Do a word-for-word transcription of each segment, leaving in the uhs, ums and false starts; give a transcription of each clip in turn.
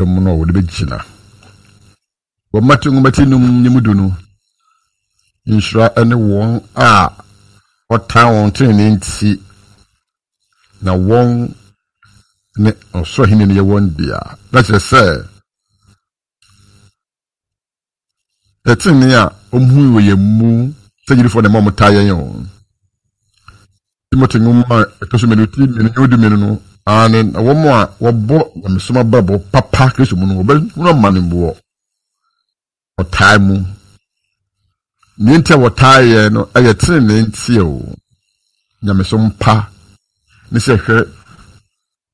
Dɔm no a wɔde bɛgyina. Wɔ Mateo nwoma ti num ne mu du no, nhyira ne wɔn a wɔtan wɔn trenee nti, na wɔn ne ɔsoro ahenni no yɛ wɔn dea. Na kyerɛ sɛ, ɛtrenee a wɔhui wɔ yɛn mu sɛ gyidifoɔ na ɛma wɔtaa yɛn o. Timothy nwoma a ɛtɔ so mmienu ti mmienu nyɛ du mmienu no, aane, na wɔn a wɔbɔ nyamesom abrabɔ papa Kristo mu no, wɔbɛhunu amane wɔ ɔtaa mu. Nea nti a wɔtaa yɛn no yɛ trenee nti o. Nyamesom pa ne sɛ hwɛ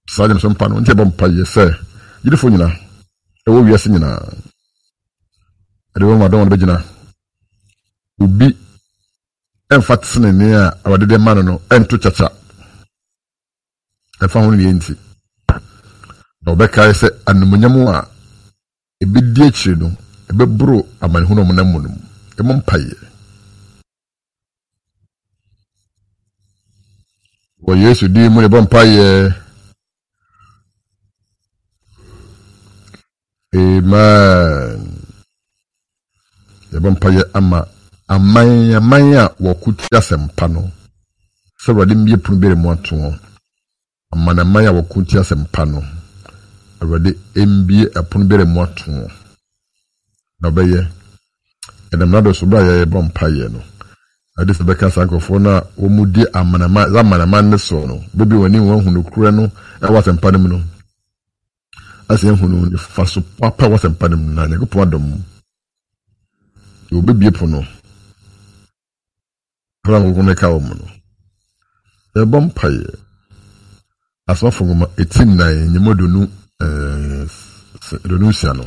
saa nyamesom pa no nti ɛbɔ mpa yɛ sɛ gyidifo nyinaa ɛwɔ wiase nyinaa ɛde wɔn adɔn wɔn bɛgyina obi ɛmfa tenenee a Awurade de ma no no ɛnto kyakya ɛmfa ho ne nti na wɔbɛkae sɛ animuonyam a ebedi akyire no ɛbɛboro amanehunu a wɔnam mu no mu. Ɛmmɔ mpaeɛ wɔ Yesu din mu. Yɛbɔ mpaeɛ, amen. Yɛbɔ mpaeɛ ama aman aman a wɔko tia asɛmpa no sɛ Awurade mmue pono biara mu ato wɔn. Amanaman a wɔko tia asɛmpa no, Awurade mbue ɛpono biara mu ato wɔn. Na ɔbɛyɛ ɛnam n'ado so bere a yɛrebɔ mpaeɛ no, ade sɛ bɛka saa nkurɔfoɔ no a wɔn di amanaman amanaman ne soɔ no, bɛbi wɔn ani wɔn ahu nokorɛ no ɛwɔ asɛmpa no mu no, asɛ ehu no ne fa so papa ɛwɔ asɛmpa no mu, na Nyankopɔn adom wɔbɛbie pono ɛna nkokɔ no ka wɔn no. Yɛbɔ mpaeɛ Asomafo nwoma eti nnan nyɛmu aduonu ɛɛ aduonu nsia no.